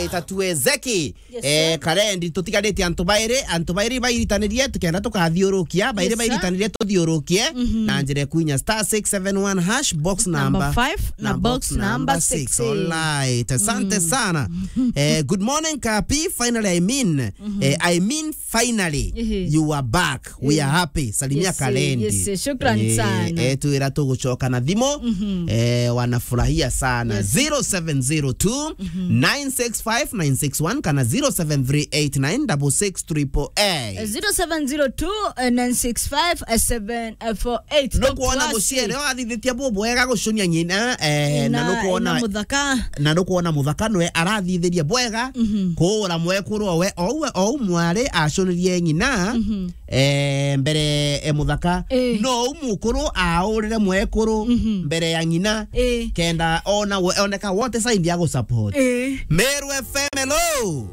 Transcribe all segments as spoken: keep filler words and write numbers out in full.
Tatuezeki. Yes, eh, sir. Karendi, tutigarite antu bairi, antu bairi bairitanirie, tukenda tukathiurukia, bairi, yes, sir, bairitanirie tuthiurukie, mhm, na njira ya kuinya star six seven one hash, box number, number five, na box number six. Alright, asante, mm, sana. Eh, good morning, Kapi. Finally, I mean, mhm, eh, I mean, finally, ehe, you are back. We, eh, are happy. Salimia, yes, eh, Karendi. Yes, eh, shukran, eh, sana. Eh, twira tugucoka na thimu. Mhm. Eh, wanafurahia sana. Yes. Zero seven zero two, nine six five nine six one kana zero seven three eight nine double six triple eight. Zero seven zero two, nine six five, seven four eight. No kuona muciere wathithitie bu bwega gucunia ng'ina, eh, na, na nukuona, na muthaka. Na nukuona muthaka nwe arathithirie bwega, mhm, kuura mwekuru owe, ou, ou mwari acunirie ng'ina, mhm, eh, mbere e muthaka. Eh. No u mukuru aurire mwekuru, mhm, mbere ya ng'ina. Eh. Kenda ona we, oneka what side ya gu support. Eh. Meru F M, hello.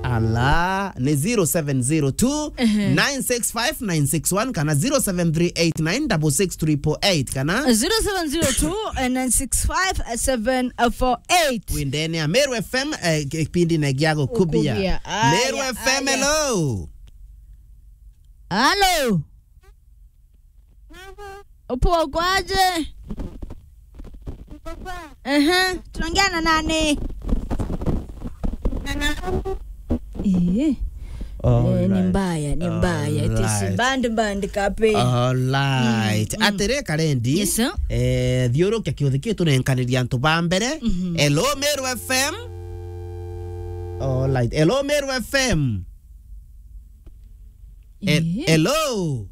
Ala, ni zero seven zero two, ehe, nine six five nine six one kana zero seven three eight nine double six triple eight kana zero seven zero two, nine six five, seven four eight. Windene ya Meru F M, eh, kipindi ne gia gukubia. Gukubia. Aya, Meru F M, aya. Hello. Halo. Upo kwaje? Ehe, tunaongea na nani? Eh. Eh, ni mbaya, ni mbaya. It is band, band, Kapi. Alright. Mm, mm. Atiri, Karendi. Yes, sir. Eh, thiurukia kiuthi kiu tunenkaniria antu ba mbere. Mhm. Hello, Meru F M. Alright. Hello, Meru F M. He-, eh, hello.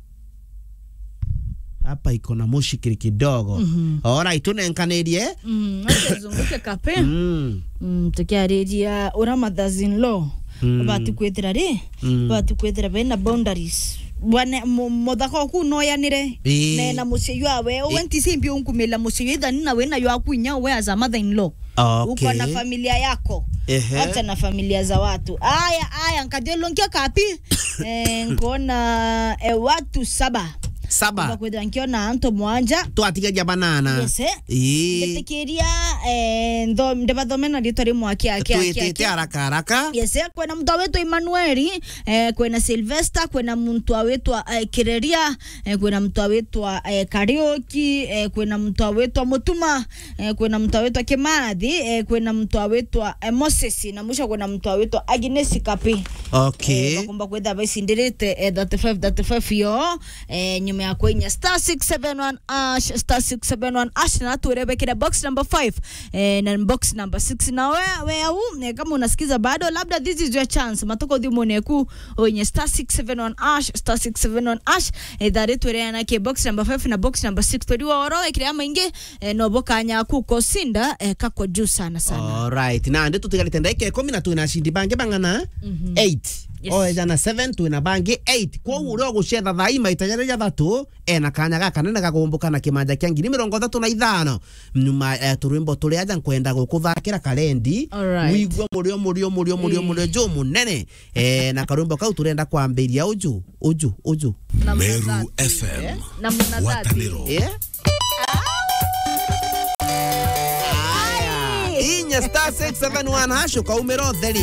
Hapa iko na mushikiri kidogo. Mhm. Alright, tunenkanirie. Mm, acha zunguke, Kapi. Mm. Mm, tukiariria ura mothers in law. Mm. Bati kwithira ri? Mm. Bati kwithira bena boundaries. Bwana, mu-, muthaka oku noyanire. Ii. Ne na mucii jwawe. Ii. Uwe nti simbi unkumila mucii jwa ithani na wina jwaku inya uwe as a mother in law. Okay. Uko na familia yako. Ehe. Acha na familia za watu. Aya, aya, nkathiurunkia, Kapi. Eh, nkona, eh, watu saba. Saba. Kwithira nkiona antu mwanja. Twatigaria banana. Yes, eh. Ii. Nditikiria, eh, ntho-, ndibathome na ritwa rimwe aki, aki, aki, twitite aki. Haraka, haraka. Yes, eh, kwina muntu awitwa Emmanuel, eh, kwina Sylvester, kwina muntu awitwa, eh, Kireria, eh, kwina muntu awitwa, eh, Kariuki, eh, kwina muntu awitwa Mutuma, eh, kwina muntu awitwa Kimathi, eh, kwina muntu awitwa, eh, Moses, na mwisho kwina muntu awitwa Agnes Kapi. Okay. Eh, bakumba kwithira baicindirite, eh, thirty-five, thirty-five yo, eh, nyuma ya kwinya star six seven one hash, star six seven one hash, na twire bekire box number five, eh, na box number six. Na we, we au, eh, kama unasikiza bado, labda this is your chance. Matuko thimune ku, oinye star six seven one hash, star six seven one hash, eh, thari twire na ke box number five na box number six. Twiri wa oro, ekire amaingi, eh, no bo kanya ku kosinda, eh, kako juu sana sana. Alright. Na ndi tutigarite ndagika ikumi na twina acindi bangi bang'ana? Mhm. Eight. Yes. O ejana seven, twina bangi eight. Kwoguo uria ugucetha thaa ii maita jaria jathatu, ena kanya gakanene ga gumbuka na kimanja kia ngiri mirongo ithatu na ithano. Nyuma, eh, turwimbo turia aja nkwenda gukuthakira, Karendi. Alright. Wigua murio, murio, murio, murio, eh, murio ju munene. Eh, na karwimbo kau turenda kwambiria uju, uju, uju. Na Meru munathati. F M. Eh? Na munathati. Ngwataniro. Eh? Aya. Inya star six seven one hash ukaumira utheri.